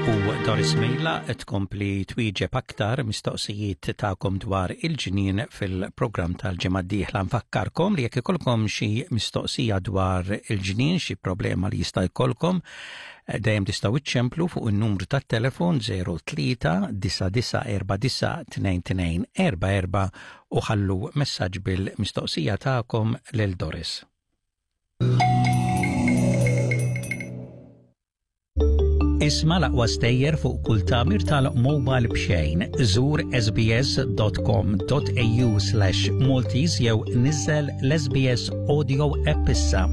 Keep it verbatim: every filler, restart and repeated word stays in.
U Doris Mejla tkompli twieġeb aktar mistoqsijiet tagħkom dwar il-ġnien fil-programm tal-ġimgħa d-dieħla. Nfakkarkom li jekk ikolkom xi mistoqsija dwar il-ġnien, xi problema li jista' jkollkom, dejjem tistgħu iċċemplu fuq in-numru tat-telefon zero tlieta disa' disa' erba' disa' tnejn tnejn erba' erba' u ħallu messaġġ bil-mistoqsija tagħkom lil Doris. Isma' l-aqwa stejjer fuq kull tagħmir tal-mobile b'xejn. Żur S B S dot com dot A U slash Maltese jew niżel l-S B S Audio app issa.